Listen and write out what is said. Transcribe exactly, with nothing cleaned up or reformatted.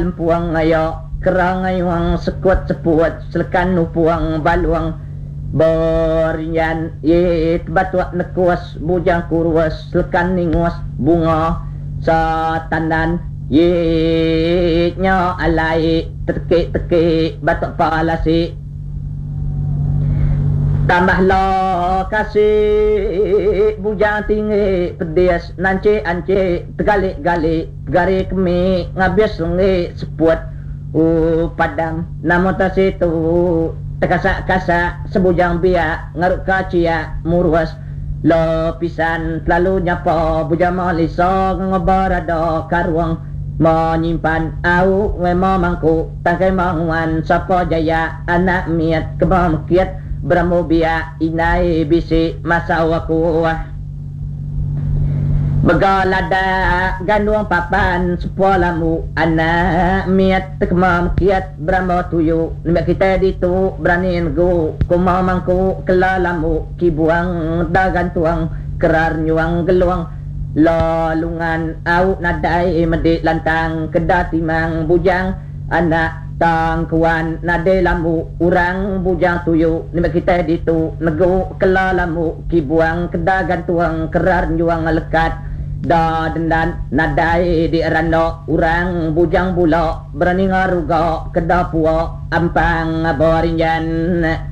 Lempuang ayo kerang ayuang sekut seput selekan nupuang baluang berinjan ye batuk nekus bujang kurus selekan ningus bunga satandan ye nya alai terkik-tekik batuk palasi tambah la kasih bujang tinggi pedis nancik ancik tegalik-galik gari kemi ngabis lengi seput u padang nama tasitu tekasak-kasak sebujang biak ngaruk kaciak murus lepisan selalu nyapa bujang malisa ngobarada karuang menyimpan au wema mangku tangkai manguan sapa jaya anak miat keba mekit beramu biak inai bisi masa aku begalada gandung papan sepua lamu anak miat tekema mekiat beramu tuyu nembak kita ditu berani negu kuma mangku kela lamu kibuang dagantuang kerar nyuang geluang lalungan au nadai medik lantang keda timang bujang anak tangkuan nadai lambu urang bujang tuyu nembak kita ditu negu kela lambu kibuang keda gantuang kerar nyuang lekat da dendan nadai di rando urang bujang bula berani ngaruga keda puak ampang borinjan.